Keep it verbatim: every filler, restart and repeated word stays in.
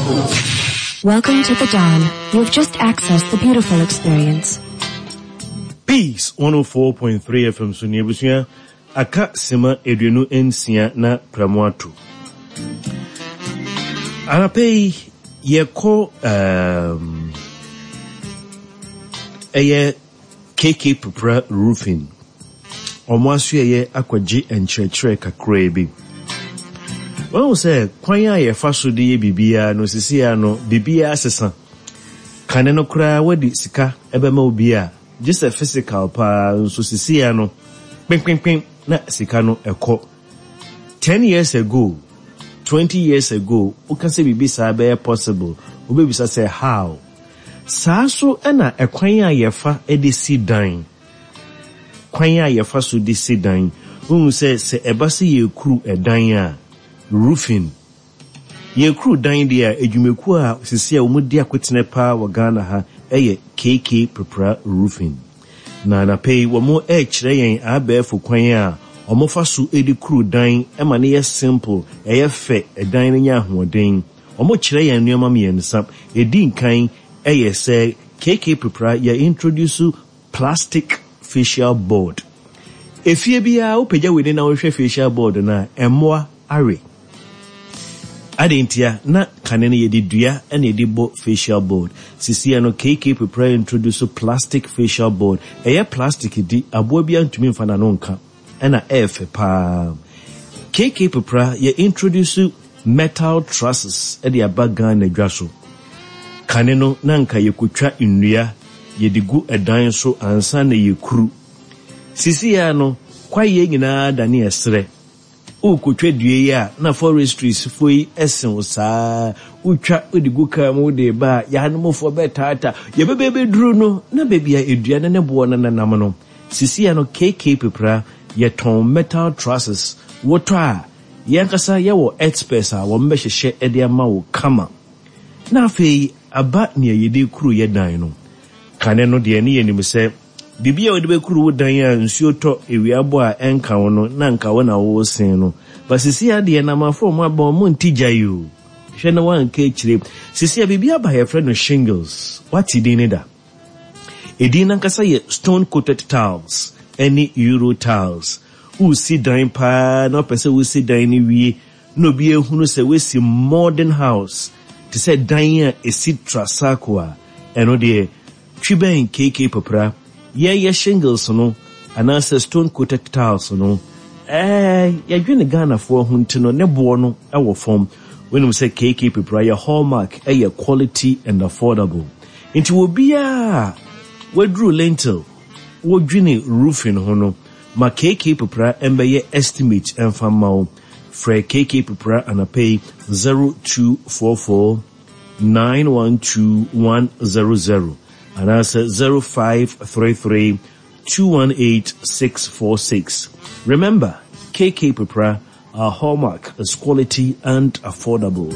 Welcome to the dawn. You have just accessed the beautiful experience. Peace one oh four point three F M so ni ebusua aka sema aduonu nsia na pramo ato. Anapei yɛkɔ um ɛyɛ K K Pepra Roofing. Ɔmo aso yɛ akɔgye nkyerɛkyerɛ kakra bi. Wɔn sɛ kwan a yɛfa so de yɛ biribiara no sisi ya no biribiara sesa. Kane no koraa wɔde sika ɛbɛma obi a gye sɛ physical paa nso sisi ya no kpenkpenkpen na sika no ɛkɔ. Ten years ago, twenty years ago, woka sɛ biribi saa bɛyɛ possible. Wobɛbisa sɛ how? Saa so ɛna ɛkwan a yɛfa de si dan. Kwan a yɛfa so de si dan. Wohu sɛ sɛ ɛba sɛ yɛkuru ɛdan a roofing. Yɛkuru dan deɛ a adwumakuo a sisi a wɔn di akotene paa wɔ Ghana ha ɛyɛ K K Pepra Roofing. Na anapɛ yi wɔn ɛrekyerɛ yɛn abɛɛfo kwan a wɔn fa so de kuru dan ɛma no yɛ simple, ɛyɛ fɛ, ɛdan no nyɛ ahoɔden. Wɔn kyerɛ yɛn nneɛma mmiɛnsa. Edi nkan ɛyɛ sɛ K K Pepra yɛ introduce plastic fascia board. Efie biara wopagya w'ani na wohwɛ fascia board na ɛmmoa awe. Ade ntia na kane no yɛde dua na yɛde bɔ fascia board. Sisia no K K Pepra introduce plastic fascia board. Ɛyɛ plastic di aboa bi antumi mfa n'ano nka ɛna ɛyɛ fɛ paa. K K Pepra yɛ introduce metal trusses ɛde aba Ghana dwa so. Kane no na nka yɛkotwa nnua yɛde gu ɛdan so ansa na yɛkuru. Sisia no kwaeɛ nyinaa dane ɛserɛ. Wokotwa dua yi a na forestries fo yi ɛsen wo saa. Wotwa wode gu kaa mu wode ba a yɛanomfoɔ bɛtaata. Yɛbɛbɛbɛduru no na baabi a edua no ne boɔ no nenam no. Sisia no K K Pepra yɛtɔn metal trusses. Wotɔ a yɛn ankasa yɛwɔ experts a wɔn bɛhyehyɛ ɛde ama wo kama. Na afei aba nea yɛde kuru yɛ dan no. Kane no deɛ ne yɛnim sɛ biribi a wɔde bɛkuru wo dan a nsuo tɔ ewia bɔ a ɛnka wo no na nka wo na wɔresen no. Ba sisi adeɛ na amafo ɔmo aba ɔmo nti gya yi o. Hwɛ na wanka akyire. Sisi a biribi aba yɛfrɛ no shingles. Wate din ne da? Edin nankasa yɛ stone coated tiles ɛne euro tiles. Wosi dan paa na wopɛ sɛ wosi dan no wie na obi ehunu sɛ wosi modern house te sɛ dan a esi trasaco a ɛno deɛ twi bɛn K K Pepra yɛyɛ shingles no anaasɛ stone coated tiles no ɛɛ yɛdwene Ghanafoɔ ho nti no ne boɔ no ɛwɔ fam. Wonim sɛ K K Pepra yɛ hallmark ɛyɛ quality and affordable. Nti obiara waduru lintel wodwene roofing ho no ma K K Pepra ɛmbɛyɛ estimate ɛmfa mma wo. Frɛ K K Pepra anapɛ zero two four four nine one two one zero zero anaasɛ zero five three three two one eight six four six. Remember, K K Pepra, our hallmark is quality and affordable.